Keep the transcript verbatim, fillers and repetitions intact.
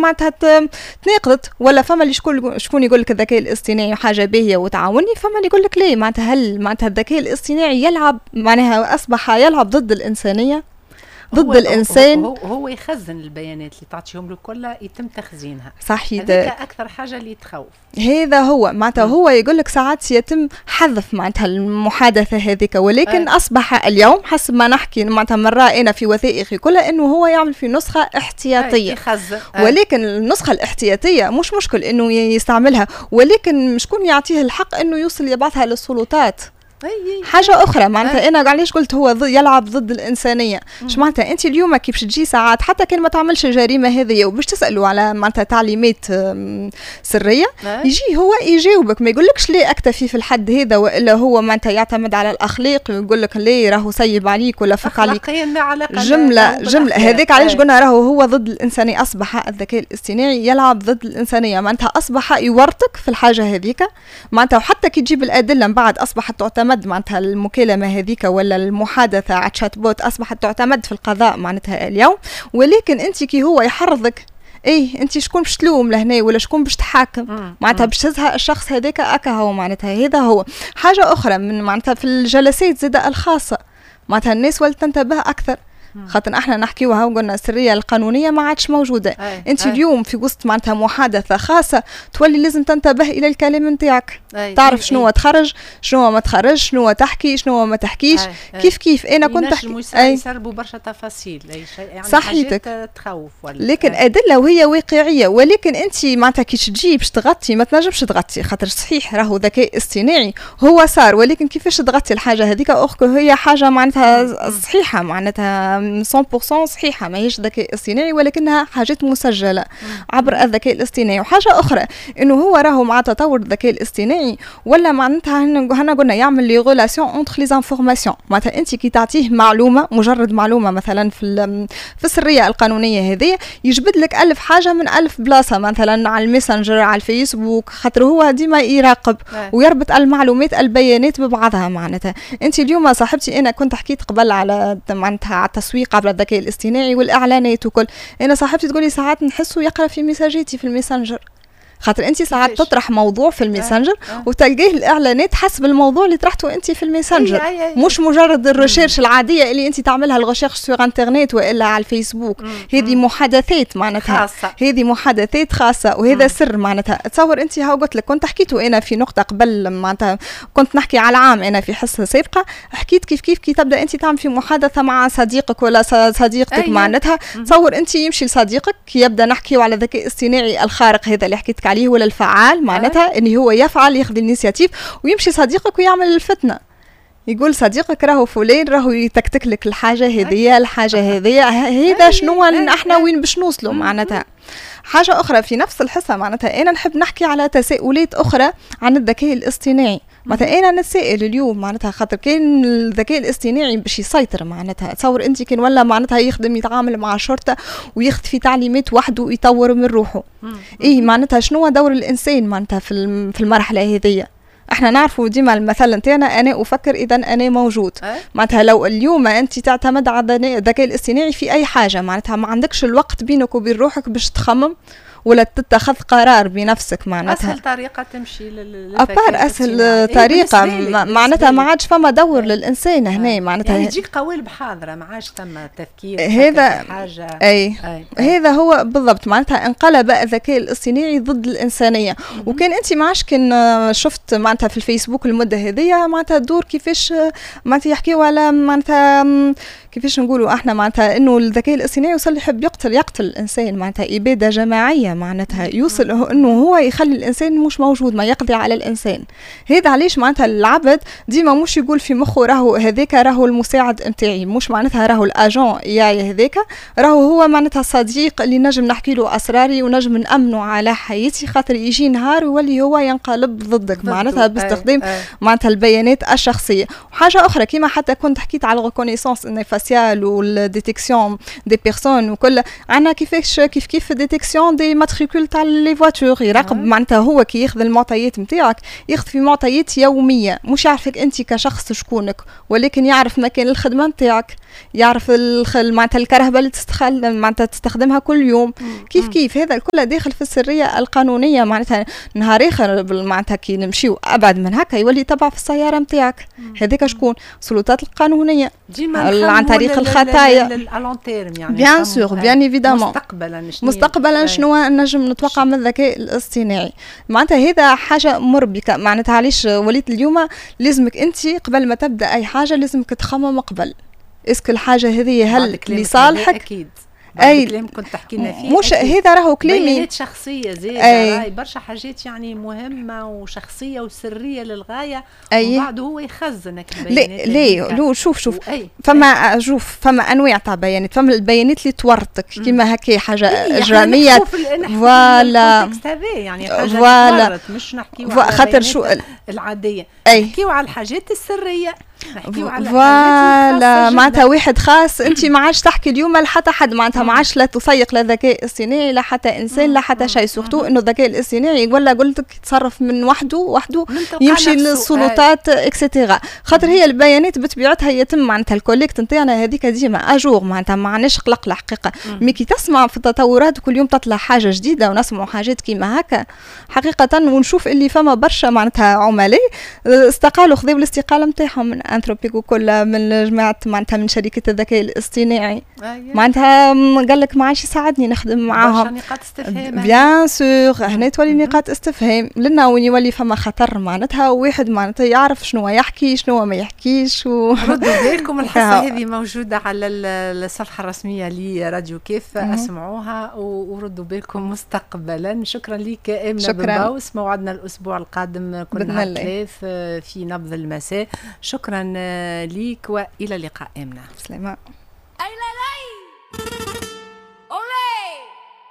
معناتها تناقضت، ولا فما اللي شكون شكون يقول لك الذكاء الاصطناعي حاجة باهيه وتعاوني، فما اللي يقول لك ليه. معناتها هل معناتها الذكاء الاصطناعي يلعب، معناها اصبح يلعب ضد الانسانيه، ضد هو الانسان؟ هو, هو يخزن البيانات اللي تعطيهم له كلها، يتم تخزينها. صحيح. هذاك اكثر حاجة اللي تخوف. هذا هو، معناتها هو يقول لك ساعات يتم حذف معناتها المحادثة هذيك، ولكن أي. اصبح اليوم حسب ما نحكي معناتها مرة انا في وثائقي كلها انه هو يعمل في نسخه احتياطيه. يخزن. ولكن النسخة الاحتياطيه مش مشكل انه يستعملها، ولكن شكون يعطيه الحق انه يوصل يبعثها للسلطات؟ حاجة اخرى معناتها انا علاش قلت هو يلعب ضد الانسانيه؟ اش معناتها انت اليوم كيف تجي ساعات، حتى كان ما تعملش الجريمة هذه، وباش تسالوا على معناتها تعليمات سريه، يجي هو يجاوبك، ما يقولكش ليه اكتفي في الحد هذا، والا هو معناتها يعتمد على الاخلاق ويقول لك ليه راهو سيب عليك ولا فك عليك. جملة جمله. هذاك علاش قلنا راهو هو ضد الانسانيه. اصبح الذكاء الاصطناعي يلعب ضد الانسانيه، معناتها اصبح يورطك في الحاجة هذيك معناتها، وحتى كي تجيب الادلة من بعد اصبحت تعتمد معناتها المكالمة هذيك ولا المحادثة على chatbot اصبحت تعتمد في القضاء معناتها اليوم. ولكن انت كي هو يحرضك، ايه انت شكون باش تلوم لهنا ولا شكون باش تحاكم؟ معناتها باش تزهق الشخص هذاك اكا هو. معناتها هذا هو. حاجة اخرى من معناتها في الجلسات زاده الخاصه، معناتها الناس ولت تنتبه اكثر، خاطر احنا نحكيوها وقلنا السرية القانونية ما عادش موجوده. أي. انت أي. اليوم في وسط معناتها محادثة خاصة تولي لازم تنتبه الى الكلام نتاعك، تعرف شنو تخرج، شنو ما تخرج، شنو تحكي، شنو ما تحكيش. أي. أي. كيف كيف انا كنت تحكي يسربوا برشا تفاصيل، اي شيء يعني. صحيتك. تخوف ولا لكن أي. ادلة وهي واقعيه، ولكن انت معناتها كي تجي باش تغطي ما تنجمش تغطي، خاطر صحيح راهو ذكاء اصطناعي هو صار، ولكن كيفاش تغطي الحاجة هذيك؟ or que هي حاجة معناتها صحيحه، معناتها مية بالمية صحيحه، ماهيش ذكاء اصطناعي ولكنها حاجات مسجله عبر الذكاء الاصطناعي. وحاجه اخرى انه هو راهو مع تطور الذكاء الاصطناعي ولا معناتها هنا قلنا يعمل les relations entre les informations. معناتها انت كي تعطيه معلومه، مجرد معلومة مثلا في في السرية القانونية هذه، يجبد لك ألف حاجة من ألف بلاصه، مثلا على الميسنجر، على الفيسبوك، خاطر هو ديما يراقب ويربط المعلومات البيانات ببعضها. معناتها انت اليوم صاحبتي، انا كنت حكيت قبل على معناتها على التسويق عبر الذكاء الاصطناعي والاعلانات وكل، انا صاحبتي تقولي ساعات نحسه يقرا في ميساجاتي في الميسنجر، خاطر انت ساعات تطرح موضوع في الميسنجر آه. آه. وتلقيه الاعلانات حسب الموضوع اللي طرحته انت في الميسنجر، أي أي أي. مش مجرد ال recherche العادية اللي انت تعملها، ال recherche sur internet والا على الفيسبوك. هذه محادثات معناتها خاصه. هذه محادثات خاصة وهذا مم. سر. معناتها تصور انت، هاو قلت لك كنت حكيته انا في نقطة قبل، معناتها كنت نحكي على العام انا في حصة سابقه، حكيت كيف كيف كي تبدا انت تعمل في محادثة مع صديقك ولا صديقتك، معناتها تصور انت يمشي لصديقك، يبدا نحكيو على الذكاء الاصطناعي الخارق هذا اللي حكيتك عليه ولا الفعال، معناتها ان هو يفعل، ياخذ l'initiative ويمشي صديقك ويعمل الفتنه، يقول صديقك راهو فلان راهو يتكتك لك الحاجة هذيا، الحاجة هذيا. هذا شنو احنا وين باش نوصلوا؟ معناتها حاجة اخرى في نفس الحصه، معناتها انا نحب نحكي على تساؤلات اخرى عن الذكاء الاصطناعي. معناتها انا نتسائل اليوم، معناتها خاطر كان الذكاء الاصطناعي باش يسيطر، معناتها تصور انت كان ولا معناتها يخدم، يتعامل مع الشرطة وياخذ في تعليمات وحده ويطور من روحه، اي معناتها شنو دور الانسان معناتها في في المرحلة هذيا؟ احنا نعرفوا ديما المثل نتاعنا: انا افكر اذا انا موجود. معناتها لو اليوم انت تعتمد على الذكاء الاصطناعي في اي حاجه، معناتها ما عندكش الوقت بينك وبين روحك باش تخمم ولا تتخذ قرار بنفسك معناتها. اسهل طريقه تمشي. à part اسهل إيه طريقه، معناتها ما عادش فما دور للانسان هنا معناتها. يعني تجيك قوالب حاضره، ما عادش ثم تفكير. هذا حاجه. اي, أي. هذا هو بالضبط، معناتها انقلب الذكاء الاصطناعي ضد الانسانيه. وكان انت ما عادش كان شفت معناتها في الفيسبوك المدة هذيا معناتها الدور كيفاش معناتها يحكيوا على معناتها كيفاش نقولوا احنا، معناتها انه الذكاء الاصطناعي وصل يحب يقتل يقتل الانسان، معناتها ابادة جماعيه، معناتها يوصل انه هو يخلي الانسان مش موجود، ما يقضي على الانسان. هذا علاش معناتها العبد ديما مش يقول في مخه راهو هذاك راهو المساعد نتاعي، مش معناتها راهو l'agent A I هذاك راهو هو معناتها صديق اللي نجم نحكي له اسراري ونجم نامنه على حياتي، خاطر يجي نهار ويولي هو ينقلب ضدك معناتها باستخدام معناتها البيانات الشخصيه. وحاجه اخرى كيما حتى كنت حكيت على ال reconnaissance faciale. faciale وال détection des personnes وكل. عندنا كيفاش كيف كيف détection des matricules تاع les voitures، يراقب معناتها هو كي ياخذ المعطيات نتاعك ياخذ في معطيات يوميه، مش يعرفك انت كشخص شكونك، ولكن يعرف مكان الخدمة نتاعك، يعرف معناتها الكرهبه اللي تستخل معناتها تستخدمها كل يوم. كيف كيف هذا الكل داخل في السرية القانونيه. معناتها نهار اخر معناتها كي نمشيو ابعد من هكا يولي تبع في السيارة نتاعك، هذاك شكون؟ السلطات القانونية عن طريق الخطايا. يعني bien sûr، bien évidemment. مستقبلا. مستقبلا شنو نجم نتوقع من الذكاء الاصطناعي؟ معناتها هذا حاجة مربكه. معناتها علاش وليت اليوم لازمك انت قبل ما تبدا اي حاجة لازمك تخمم قبل، est-ce que الحاجة هذه هل لصالحك؟ اكيد. اي كلام كنت تحكي لنا فيه. مش هذا راهو كلامي. بيانات شخصية زاد، راهي برشا حاجات يعني مهمة وشخصية وسريه للغايه. أي. وبعد هو يخزن. لا لا لو شوف شوف أي. فما شوف، فما انواع تاع بيانات، فما البيانات اللي تورطك كيما هكا حاجة إيه اجراميه. voilà يعني حاجة voilà مش نحكيو على خاطر شو العاديه، نحكيو على الحاجات السريه. نحكيو على voilà، معناتها واحد خاص، انت ما عادش تحكي اليوم لحتى حد، معناتها ما عادش لا تثيق لا ذكاء اصطناعي لا حتى انسان لا حتى شيء، surtout انه الذكاء الاصطناعي ولا قلت لك يتصرف من وحده وحده، يمشي للسلطات et cetera. خاطر هي البيانات بطبيعتها يتم معناتها ال collecte نتاعنا هذيك ديما à jour، معناتها ما عندناش قلق الحقيقه. mais كي تسمع في التطورات كل يوم تطلع حاجة جديدة ونسمعوا حاجات كيما هكا حقيقه، ونشوف اللي فما برشا معناتها عملاء استقالوا، خذوا الاستقالة نتاعهم من Anthropic وكل من جماعة معناتها من شركة الذكاء الاصطناعي. أيه. معناتها قال لك ما عادش يساعدني نخدم معاهم. نقاط استفهام. bien sûr، هنا تولي نقاط استفهام لنا وين يولي فما خطر، معناتها واحد معناتها يعرف شنو يحكي شنو ما يحكيش. و ردوا بالكم، الحصة هذه موجودة على الصفحة الرسمية لراديو كيف، اسمعوها وردوا بالكم مستقبلا. شكرا لك امنه بن باوس. موعدنا الاسبوع القادم كل نهار ثلاث في نبض المساء. شكرا ليك والى اللقاء امنه. سلامه.